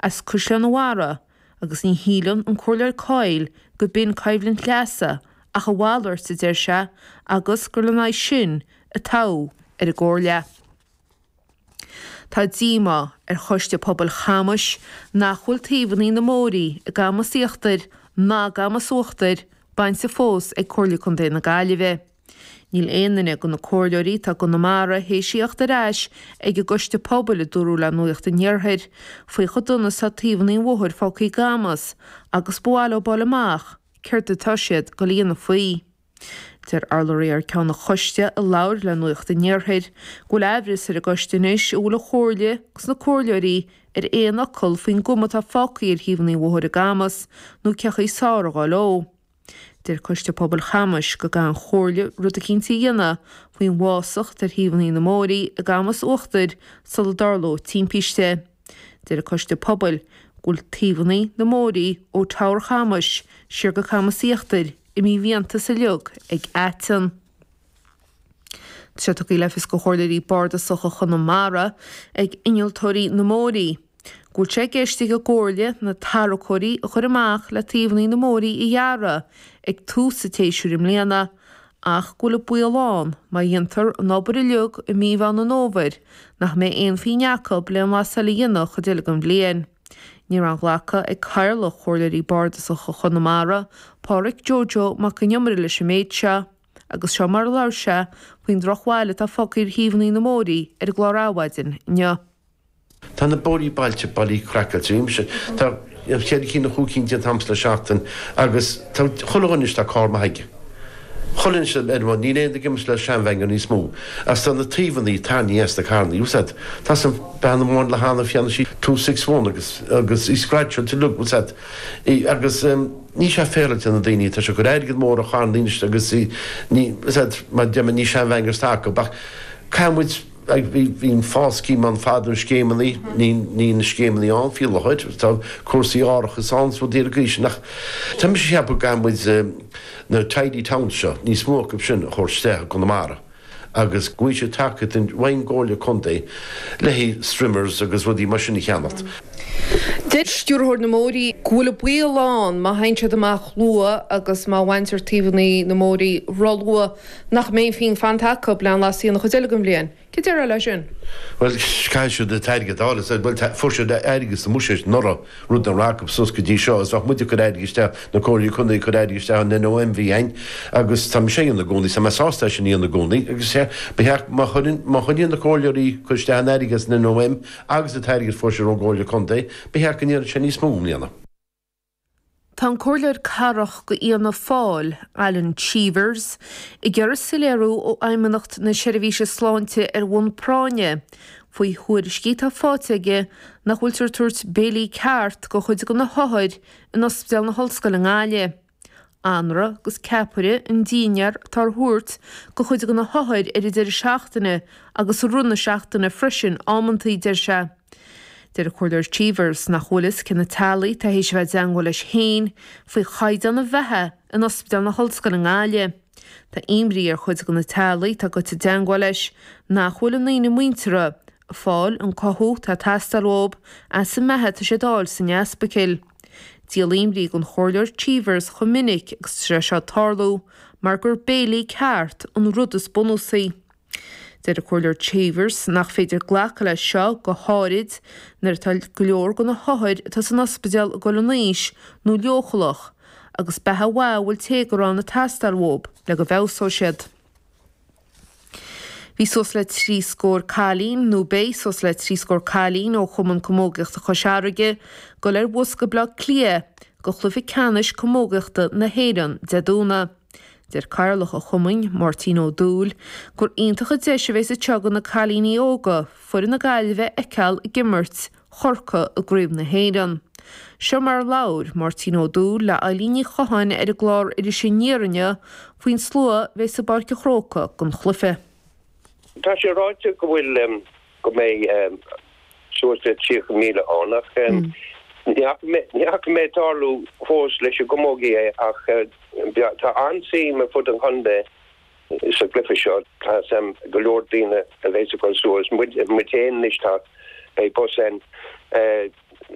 as Caisleán an Bharraigh agus ní shíleann an Comhairleoir Coyle go b'in coimhlint leasa ach a mhalairt, a deir sé, agus gur lena aghaidh sin a toghadh ar an gComhairle. Tá díomá ar Choiste Pobail Chamais nach bhfuil taobhanna na mbóithrí i gCamas Íochtair ná gCamas Uachtair bainte fós ag Comhairle Contae na Gaillimhe. Níl aon duine de na comhairleoirí atá i gConamara théis a theacht ar ais ag an gCoiste Pobail, a dúradh le Nuacht an Iarthair, faoi chomh dona is atá taobhanna an bhóthair fágtha i gCamas agus ba mhaith leo fáil amach céard atá siad ag dul a dhéanamh faoi. Deir urlabhraí thar ceann an choiste a labhair le Nuacht an Iarthair go bhfuil aimhreas ar an gcoiste anois an bhfuil an Chomhairle agus na comhairleoirí ar aon fhocal faoin gcuma atá fágtha ar thaobhanna an bhóthair i gCamas nó cén chaoi is fearr a dhul leo. Deir Coiste Pobail Chamais go gcaithfidh an Chomhairle rud eicínt a dhéanamh faoin bhfásach atá ar thaobhanna na mbóithrí i gCamas Uachtair sula dtarlóidh timpiste. Deir an Coiste Pobail go bhfuil taobhanna na mbóithrí ó Tower Chamais siar go Camas Íochtair i mímhiantas uilig ag aiteann. Tá sé tugtha le fios do Chomhairleoirí Bardasacha Chonamara ag innealtóirí na mbóithrí go bhfuil sé i gceist ag an gComhairle na tarracóirí a chur amach le taobhanna na mbóithrí a ghearradh ag tús an tséasúir i mbliana ach go bhfuil an baol ann má dhéantar an obair uilig i mí Mheán an Fhómhair nach mbeidh aon phingin acu le aon mhaitheas eile a dhéanamh an chuid eile den bhliain. Ní raibh aon ghlacadh ag Cathaoirleach Chomhairleoirí Bardasacha Chonamara, Pádhraic Joe Joe Mac Con Iomaire leis an méid seo, agus seo mar a labhair sé faoin drochbhail atá fágtha ar thaobhanna na mbóithrí ar an gclár Adhmhaidin inniu. Tá na bóithrí bailte bailí craiceáilte. Bhí mise, tá an chéad cinn nó chúig cinn déanta a'msa le seachtain agus tá chuile dhuine anois tá carr maith aige. Chuile dhuine ar an mbun, níl aon duine ag imeacht le sean-Bhanger níos mó. Agus tá na taobhannaí tarraingthe as na carrannaí, bhfuil 's a'd. Tá 's a'm bean amháin le hanamh cheannaigh sí 261 agus agus í scratcháilte uilig, bhfuil 's a'd. Í agus níl sé féaráilte do na daoine, tá sé ag cur airgead mór ar charrannaí anois agus í ní, bhfuil 's a'd, mar deir mé ní sean-Bhangers atá acu ach caithfidh muid, Bhí an fás scheme ann fadó, na scéimeannaí, níl na scéimeannaí ann faoi láthair, tá cúrsaí árachais ann is rudaí ar an gcaoi sin ach tá mise ag ceapadh go gcaithfidh muid na tidy towns seo, níos mó acu sin a thabhairt isteach i gConamara agus go bhfaighidh siad tacaíocht ón gComhairle Contae le haghaidh strimmers agus rudaí mar sin a cheannacht. Deir Stiúrthóir na mBóithrí go bhfuil an baol ann má théann siad amach luath agus má bhaintear taobhanna na mbóithrí róluath nach mbeidh aon phingin fanta acu le aon mhaitheas a dhéanamh an chuid eile den bhliain. Céard a déarfá leis sin? Bhuel, caithfidh siad an t-airgead a fháil. Bhuel, fuair siad airgead sa mbuiséad anuraidh, rud nach raibh acu suas go dtí seo, agus bheadh muid ag cur airgid isteach, na comhairlí contae ag cur airgid isteach in NOM bhí againn, agus tá mise á dhéanamh i gcónaí, tá mé sásta é sin a dhéanamh i gcónaí, agus sea, ba cheart, má chuireann, má choinníonn na comhairleoirí cur isteach an airgid as an NOM agus an t-airgead a fuair siad ón gcomhairle contae, ba cheart go ndéanfadh sé níos mó i mbliana. Tá an Comhairleoir Cathrach do Fhianna Fáil, Alan Cheevers, ag iarraidh soiléiriú ó Fheidhmeannacht na Seirbhíse Sláinte ar bhonn práinne faoi thuairiscí atá faighte aige nach bhfuiltear ag tabhairt béilí ceart do chuid de na hothair in Ospidéal na hOllscoile i nGaillimh. Anraith agus ceapaire an dinnéar atá á thabhairt do chuid de na hothair ar an deireadh seachtaine agus i rith na seachtaine freisin amantaí, deir sé. Deir an Comhairleoir Cheevers nach bhfuil fhios cé na teaghlaigh atá théis a bheith i dteangmháil leis féin faoi chaighdeán an bheatha in Ospidéal na hOllscoile i nGaillimh. Tá imní ar chuid de na teaghlaigh atá gaibhte i dteangmháil leis nach bhfuil a ndaoine muinteartha ag fáil an cothú atá ag teastáil uathu as an mbeatha atá siad a fháil san ospidéal. Díol imní don Chomhairleoir Cheevers chomh minic agus atá sé seo ag tarlú mar gur béilí ceart an rud is bunúsaí. Deir an Comhairleoir Cheevers nach féidir glacadh leis seo, go háirid nuair atá go leor de na hothair atá san ospidéal ag dul in aois nó leochaileach, agus beatha mhaith a bhfuil téagar ann ag teastáil uathu le go bhfeabhsóidh siad. Bhí suas le 3 scór cailín, nó beidh suas le 3 scór cailín ó Chumann Camógaíochta Chois Fharraige ag dul ar bhus go Baile Átha Cliath go chluiche ceannais camógaíochta na hÉireann Dé Domhnaigh. Deir Cathaoirleach an Chumainn, Máirtín Ó Dúill, gur iontach an deis a bheas anseo do na cailíní óga foireann na Gaillimhe a fheiceáil ag imirt Chorcaí i gCraobh na hÉireann. Seo mar a labhair Máirtín Ó Dúill le Eilín Ní Chatháin ar an gclár Iris Aniar inniu faoin slua a bheas i bPáirc an Chrócaigh don chluiche. Tá sé ráite go bhfuil, go mbeidh suas le 30,000 ann ach ní fhaca mé tarlú fós leis an gcamógaí é ach tá an-suim ar fud an chontae sa gcluiche seo. Tá a fhios a'm go leor daoine a bheas ag dul suas. Muid féin anois tá, beidh bus ann.